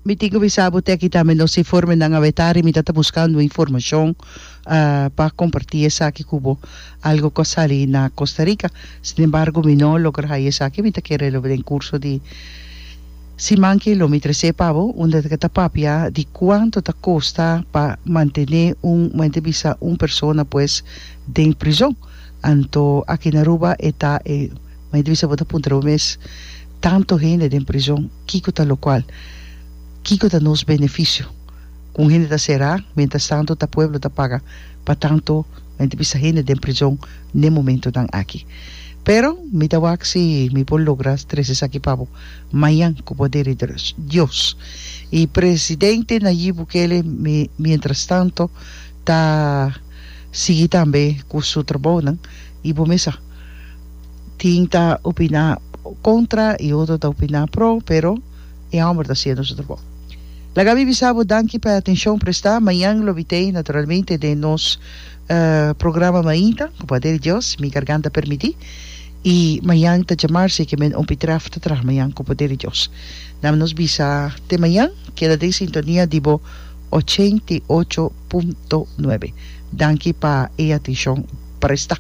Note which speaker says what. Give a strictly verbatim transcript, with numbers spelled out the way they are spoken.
Speaker 1: Mi tin ku bisa bo te aki tambe nos informenan awe tardi. Mi ta buskando informashon uh, pa kompartí esaki ku bo, algo ku a sali na Costa Rica. Sin embargo, mi no a logra haña esaki. Mi ta kere lo den kurso di siman ku lo mi trese pa bo, unda ku ta papia di kuantu ta kosta pa mantené un, mantené bisa un persona pues den prizòn. Anto aki na Aruba e ta e mantené bisa bo ta puntra mes tantu hende den prizòn, kiko ta lokual, kiko ta nos benefisio ku hende ta será, mientras tantu ta pueblo ta paga pa tantu mantené bisa hende den prizòn na momentonan aki. Pero mi ta wak si mi por logra trese esaki pa bo mañan ku poder di Dios. I presidente Nayib Bukele mi, mientras tantu ta sigui tambe ku su trabounan i bo mes sa tin ta opiná kontra i otro ta opiná pro, pero e hòmber ta hasiendo su trabou. Laga mi bisa bo danki pa atenshon prestá. Mañan lo mi t'ei naturalmente den nos uh, programa Mainta, ku poder di Dios, mi garganta permití. I mañan ta djamars ku men un pitraf ta traha mañan ku poder di Dios. Laga nos bisa te mañan, keda den sintonia di bo ochenta i ocho punto nuebe. Danki pa e atenshon prestá.